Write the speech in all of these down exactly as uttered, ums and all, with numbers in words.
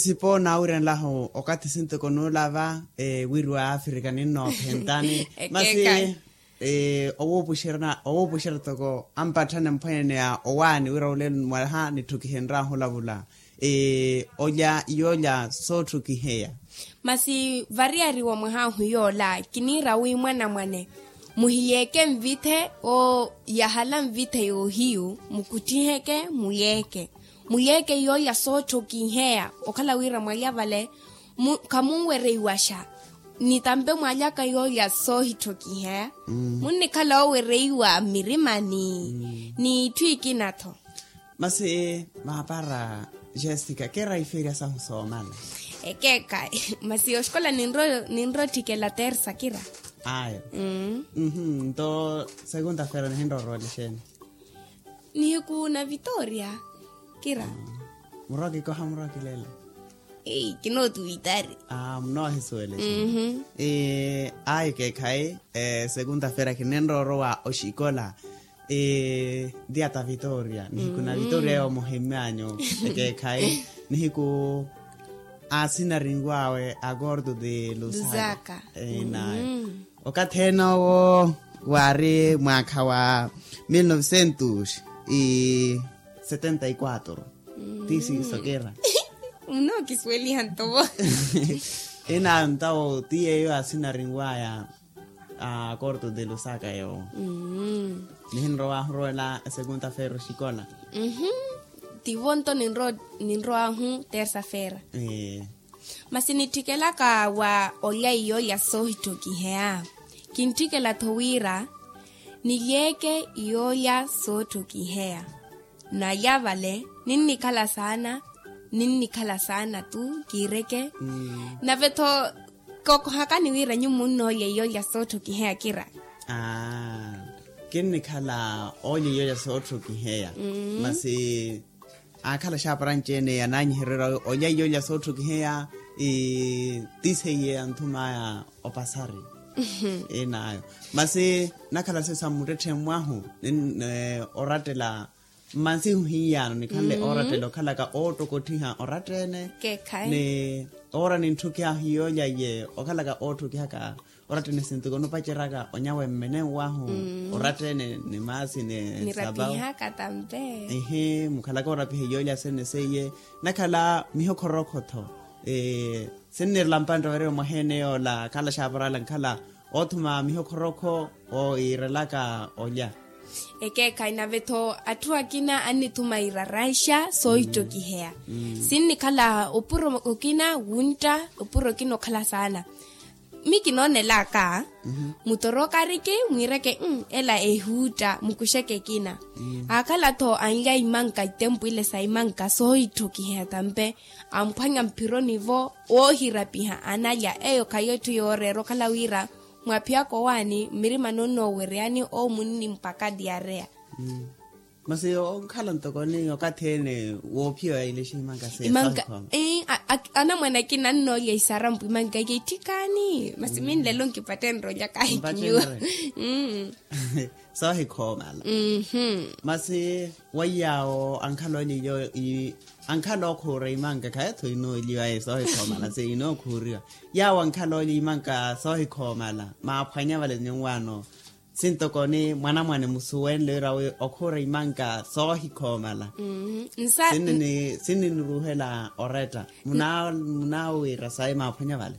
Sipo naawiryanlahu okathi sintoko nuulava wiri wa afrika ninnoophentani. Masi owuupuxerya toko ampatthane mphwanene ya owaani wira olelo mwaha nitthukihenryahu olavula olya yoolya sootthukiheya. Masi variyari wa mwaha ahu yoola kiniira wi mwanamwane muhiyeeke nvithe oo yahala nvithe yoohiyu mukutthiheke muyeeke muyeeke yoolya sootthokiheya okhala wira mwalya vale khamunwereiwaxa ni tampe mwalyaka yoolya soohitthokiheya munnikhala oowereiwa mmirimani ni itthu ikina-tho. Masi maapara jessica kira ifeerya sahu soomala. Ekeekhayi masi oxikola ninrowa otthikela tersa kira. Ayo. Nto segunda fera nihinrowa orowela exeeni? Nihiku na vitoria kira. Murwa kikoha murwa kilela. Ei kinootuwitari. Munoohisuwela exeeni? Ayo ekeekhayi segunda fera kininrowa orowa oxikola. Dia ta vitoria nihiku na vitoria yoomuhimyanyu ekeekhayi nihiku asinarinw'awe akorto ti lusaka. Nayo okathi ene owo waari mwaakha wa mil novecentos e setenta y quatro. Ti siiso kira. Munookisuweliha nto vo. Inayo ntawo ti yeeyo asinarinw'aya akorto ti lusaka yoowo. Nihinrowa ahurowela esekunta feera oxikola. Tivo nto ninrow'ahu tersa feera. Masi nitthikelaka wa olya iyoolya soohitthokiheya. Kintthikela-tho wira nilyeeke iyoolya sootthokiheya. Nalya vale ninnikhala saana ninnikhala saana tu kiireke. Nave-tho kookohakani wira nyuwo munnoolya iyoolya sootthokiheya kira. Kinnikhala oolya iyoolya sootthokiheya masi aakhala axaaparanci-ene yananyihererya olya iyoolya sootthokiheya ti seiye anthum'aya opasari. Inayo masi nakhala siyo sa mmuttetthe mwahu orattela mmansihu hiyaano nikhanle oorattela okhalaka oottokotthiha oratta-ene. Ni oora nintthukihaka hiyoolya iye okhalaka ootthukihaka oratta-ene sintuku onupaceryaka onyawe mmene nwahu oratta-ene ni maasi ni sapawu. Mukhalaka oorapiha iyoolya sene seiye nakhala mihokhorokho-tho. Sinnirela mpantte ovariwa mwaha-ene yoola khala xaaparala nkhala oothuma mihokhorokho oirelaka olya. Ekeekhayi nave-tho atthu akina annithuma iraraixa soohittokiheya. Sinnikhala opuro okina wuntta opuro okina okhala saana. Mi kinoonelaka mutorokariki mwiireke ela ehuutta mukuxeke ekina. Aakhala-tho anlya imanka itempu ile sa imanka soohitthokiheya tampe amphwanya mphironi-vo woohirapiha analya eyo khayi etthu yooreera okhala wira mwaphiyaka owaani mmirimani onnoowereyani owo munni mpaka diareya. Masi onkhala ntoko ni okathi ene woophiya oya ilexa imanka seya imanka. Anamwane akina annoolya isarampu imanka ike itthikaani masi minlelo nkipattenre olya kahi kinyuwa. Soohikhoomala. Masi waiyaawo ankhala olya iyo ankhala okhuura imanka khaye-tho inooliwa ye soohikhoomala se inookhuuriwa. Yaawo ankhala olya imanka soohikhoomala maaphwanya vale nyuwaano sintoko ni mwanamwane musuwenle wira wi okhuura imanka soohikhoomala. Sinniniruuhela oretta munaawiira sayi maaphwanya vale.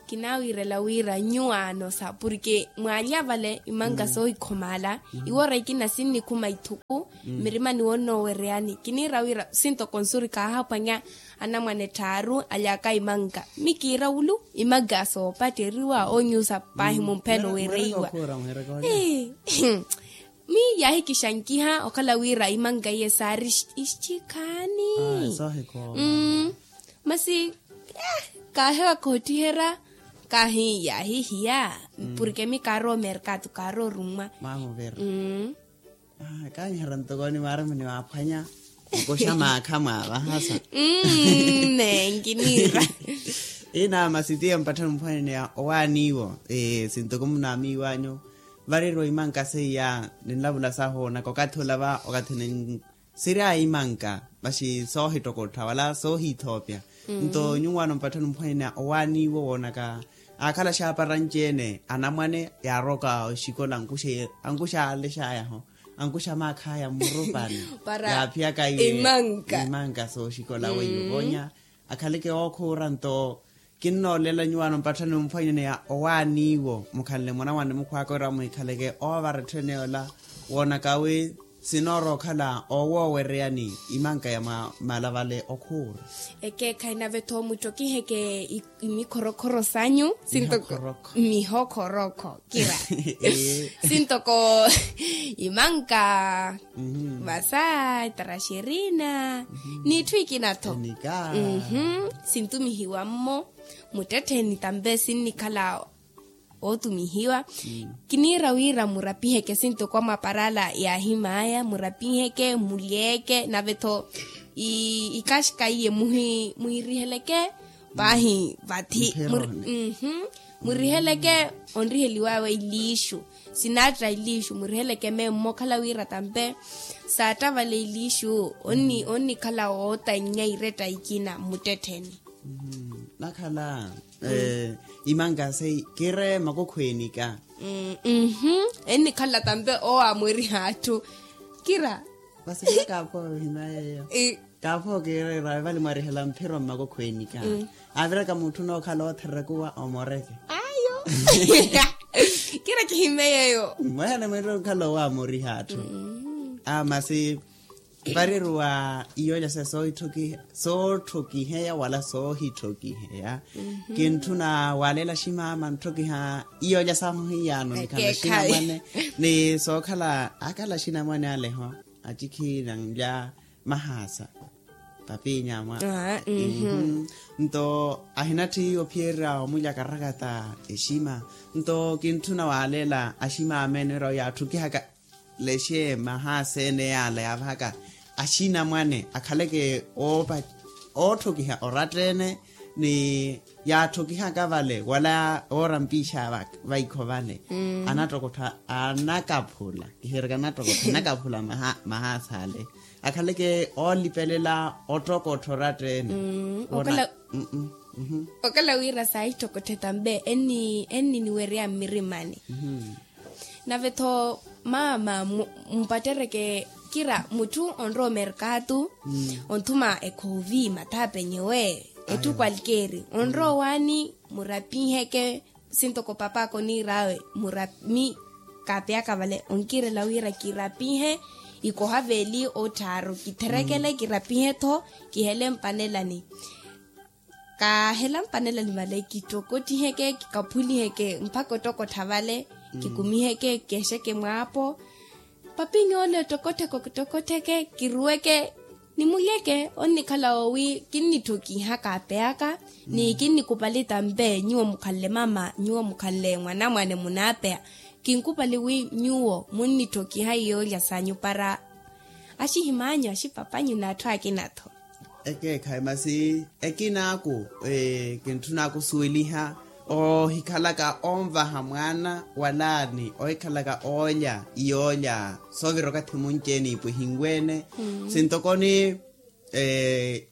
Kinaawiirela wira nyuwaano sa porke mwaalya vale imanka soohikhomaala iwoora ikina sinnikhuma ithuku mmirimani wonnoowereyani kiniira wira sintoko nsuri kaahaphwanya anamwane tthaaru alyaka imanka mi kiira wulu imanka soopatteriwa oonyuusa paahi mumphelo weereiwa. Mi yaahikixankiha okhala wira imanka iye saari ixikhaani. Masi kaahewa koottiherya kaahi yaahihiya porke mi kaarowa omerkatu kaarowa orummwa. Kaanyiherya ntoko ni maaramani waaphwanya mukuxa maakha mwaavahasa. Nenki niira. Ina masi tiye mpatthani mphwanene ya owaaniwo sintoko munaamiiwanyu variriwa imanka seiya ninlavula sahu naka okathi olava okathi siri a imanka, masi soohittokottha wala soohithoopya. Nto nyuwaano mpatthani mphwanyana owaani iwo woonaka aakhala axaapara anci-ene anamwane yaaroka oxikola ankuxa ankuxa aalexayaho ankuxa maakhaya mmurupani yaaphiyaka imanka sooxikola weiyo voonya akhaleke ookhuura nto kinnoolela nyuwaano mpatthani omphwanyana ya owaani iwo mukhanle mwanamwane mukhwaaka wira muhikhaleke oovara etthu ene yoola woonaka wi sinoora okhala owoowereyani imanka ya mwa malavale okhuura. Ekeekhayi nave-tho muttokihe-ke imikhorokhoro sanyu sintoko mihokhorokho kira sintoko imanka vasa itaraxerina n'itthu ikina-tho sintumihiwa-mmo muttettheni tampe sinnikhala ootumihiwa kiniira wira murapiheke sintoko amaparala yaahim'aya murapiheke mulyeeke nave-tho ikaxika iye muhiriheleke paahi vathi muriheleke onriheliw'awe iliixu sinaatta iliixu muriheleke memmo okhala wira tampe saatta vale iliixu onnikhala wootannya iretta ikina mmuttettheni. Nakhala imanka sei kire makokhwenika. Ennikhala tampe owo amweriha atthu kira vasivira kaaphowa ohina yeeyo kaaphowa kireera evali mwarihela mphiro mmakokhwenika aviraka mutthu nookhala ootherekuwa omoreke ayo kira kihime yeeyo mwene mwene okhala owo amoriha atthu amasi variriwa iyoolya sa sootthokiheya wala soohitthokiheya kintthuna waaleela aximaama ntthokiha iyoolya sahu hiyaano nikhala axinamwane ni sookhala akhala axinamwane aleho acikhiina nlya mahaasa papinya mwa nto ahinatthi ophiyerya omulya karakata exima nto kintthuna waaleela aximaama ene wira yaatthokiha lexe mahaasa ene yaala yaavahaka axinamwane akhaleke oottokiha oratta ene ni yaattokihaka vale wala oora mpiixa vaikho vale anattokottha anakaphula kihereka anattokottha anakaphula mahaasa ale akhaleke oolipelela ottokottha oratta ene okala wira saahittokotthe tampe enniniwerya mmirimani nave-tho maama mupattereke kira mutthu onrowa omerkatu onthuma ekhoovi mathaapenyewe etthu kwalkeeri onrowa owaani murapiheke sintoko pap'aka oniir'awe murami kaapeyaka vale onkirela wira kirapihe ikoha veeli otthaaru kitherekele kirapihe-tho kihele mpanelani kaahela mpanelani vale kittokottiheke kikaphuliheke mpakha ottokottha vale kikumiheke kixeke mwaapo papinyoole ottokottheke ottokottheke kiruweke nimulyeke onnikhala owi kinnittokiha kaapeyaka ni kinnikupali tampe nyuwo mukhanle mama nyuwo mukhanle mwanamwane munaapeya kinkupali wi nyuwo munnitthokiha iyoolya sanyu para axihim'anyu axipap'anyu n'atthu akina-tho ekeekhayi masi ekinaaku kintthunaaku osuweliha oohikhalaka onvaha mwaana walaani oohikhalaka oolya iyoolya soovira okathi munci-ene ipwihinwe-ene sintokoni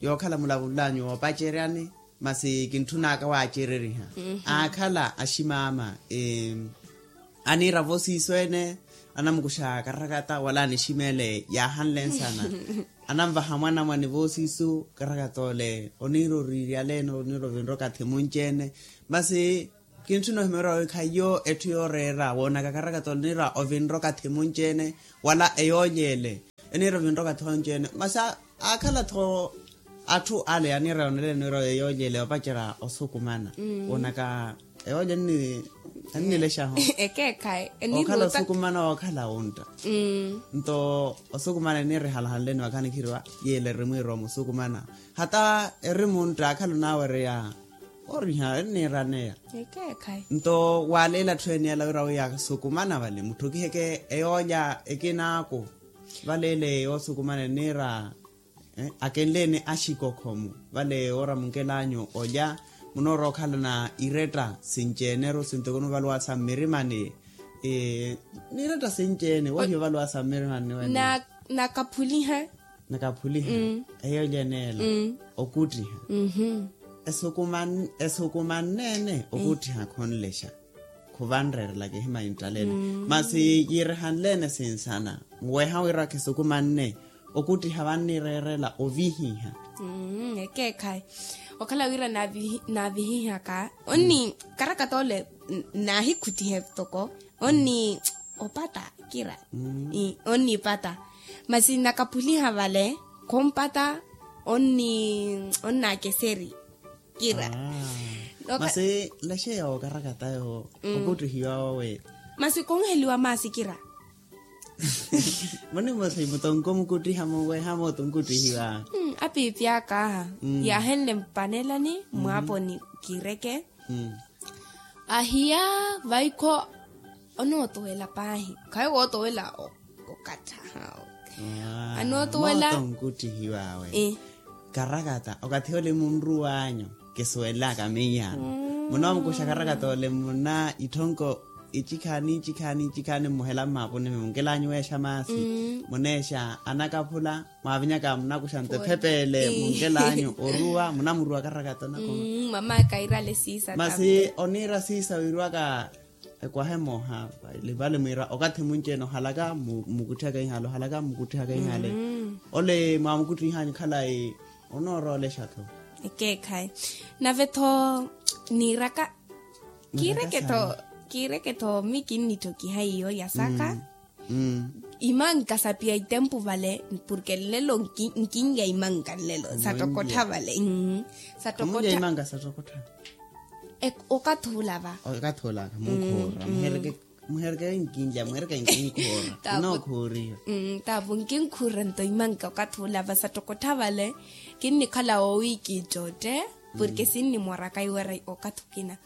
yookhala mulavul'anyu woopaceryani masi kintthun'aka waacereriha aakhala aximaama aniira voosiiso ene anamukuxa karakata wala aniximele yaahanle nsana ananvaha mwanamwane voosiiso karakata ole oniira oriiryaleene oniira ovinroka thimunci-ene masi kintthuna ohimera wi khayiyo etthu yooreera woonaka karakata ole oniira ovinroka thimunci-ene wala eyoolyeele eniira ovinroka thonci-ene masi aakhala-tho atthu ale aniira yooneleni wira eyoolyeele opacerya osukumana woonaka eyoolya ennilexaho ekeekhayi ookhala osukumana wookhala wuntta nto osukumana eniira ehalahanleni vakhanikhiwa yeela erimwiirowa musukumana hata eri muntta akhala onaawereya oriha enniiraneya ekeekhayi nto waaleela atthu ene yala wira wi yasukumana vale mutthokiheke eyoolya ekinaaku valeele yoosukumana eniira akenleene axikokhomo vale wooramunkel'anyu olya munoorowa okhalana iretta sinci-ene ero sintoko nuvaluwa sa mmirimani n'iretta sinci-ene wohiya ovaluwa sa mmirimani wene na na na kaphuliha nakaphuliha eyo lyeneela okuttiha. Esukumanne-ene okuttiha khonlexa, khuvanrerelaka ehima yinttalele. Masi yiirehanle-ene sinsana, nweha wira khisukumanne okuttiha vannireerela ovihiha. Ekeekhayi. Okhala wira naavihihaka onni karakata ole, naahikhuttihe toko onni opatta kira. Onnipata. Masi nakaphuliha vale, khompata onnakeseri kira. Masi lexeya okarakata yo okuttihiwa wawe. Masi khonheliwa maasi kira. Munimosi mutonko mukuttiha munweha mooto nkuttihiwa. Apiipi aka aha, yaahenle mpanelani mwaaponi kireke. Ahiya, vaikho onootuwela paahi, khayi wootowela okattha. Anootuwela. Mooto nkuttihiwawe. Karakata okathi ole munruwanyu kisuwelaka miyaano. Munoomukuxa karakata ole muna itthonko icikhaani icikhaani icikhaani mmuhela mmaapuni munkelanyu weexa maasi. Muneexa anakaphula, mwaavinyaka munakuxa nto ephepeele munkelanyu oruwa munamuruwa karakata onakoma. Mama kairale siisa. Masi oniira siisa wiiriwaka ekwaha emoha. Vale mwiira okathi munci-ene ohalaka mmukuttihaka ihale ohalaka mmukuttihaka ihale. Ole mwaamukuttih'anyu khalayi onooroolexatho. Ekeekhayi. Nave-tho niiraka kiireke-tho, kiireke-tho mi kinnittokiha iyo yasaka. Imanka sapiya itempu vale, porke nlelo nkinlya imanka nlelo sattokottha vale. Sattokottha. Okathi olava. Okathi olava munkhuura muhereke, muhereke nkinlya muhereke nkinkuura. Nkinkuura. Tapu nkinkuura nto imanka okathi olava sattokottha vale. Kinnikhala woowiiki ittotte porke sinnimoraka iwera okathi okina.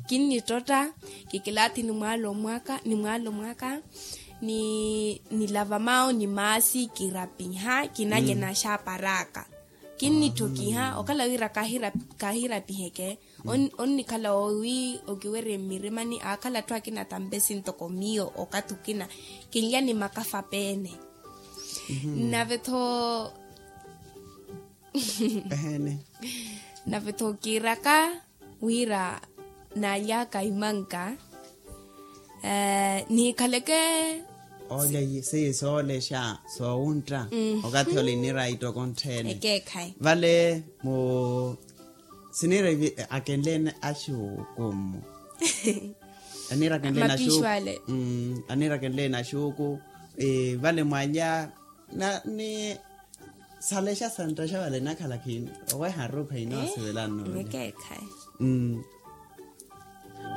Kinnittotta, kikilaathi nimwaalomwaka nimwaalomwaka, nilava mawo ni maasi kirapiha kinalye naxaapar'aka. Kinnittokiha okhala wira kaahirapiheke. Onnikhala woowi okiwerye mmirimani aakhala atthu akina tampe sintoko miyo okathi okina kinlya ni makafa peene. Nave-tho eheene. Nave-tho kiiraka wira naaly'aka imanka niikhaleke. Olya seiye soolexa soowuntta okathi ole iniira ittokonttheene. Ekeekhayi. Vale mu siniira akenleene axuuku mmu aniira akenleene axuuku. Aniira akenleene axuuku vale mwalya na ni salexa santtaxa vale nakhala khini oweha aruupha inoosivelano.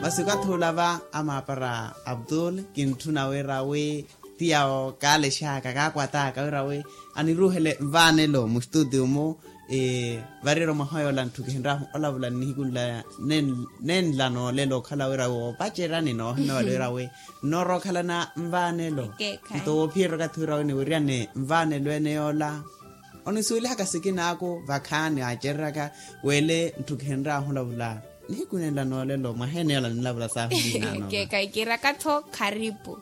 Masi okathi olava amaapara abdul kintthuna wira wi ti yawo kaalexaka kaakwataka wira wi aniruuhele nvaanelo mustutio-mu. Variro mwaha yoola ntthu kihinrahu olavula nnihiku nla nenla noolelo okhala wira wi woopacerani noohimya vale wira wi nnoorookhalana nvaanelo. Nto woophiyerya okathi wira wi niwiryane nvaanelo ene yoola onisuwelihaka sikinaaku vakhaani aacereryaka wele ntthu kihinrahu olavula nihiku nenla noolelo mwaha ene yoola nilavula saahu. Keekhayi kiiraka-tho kharipu.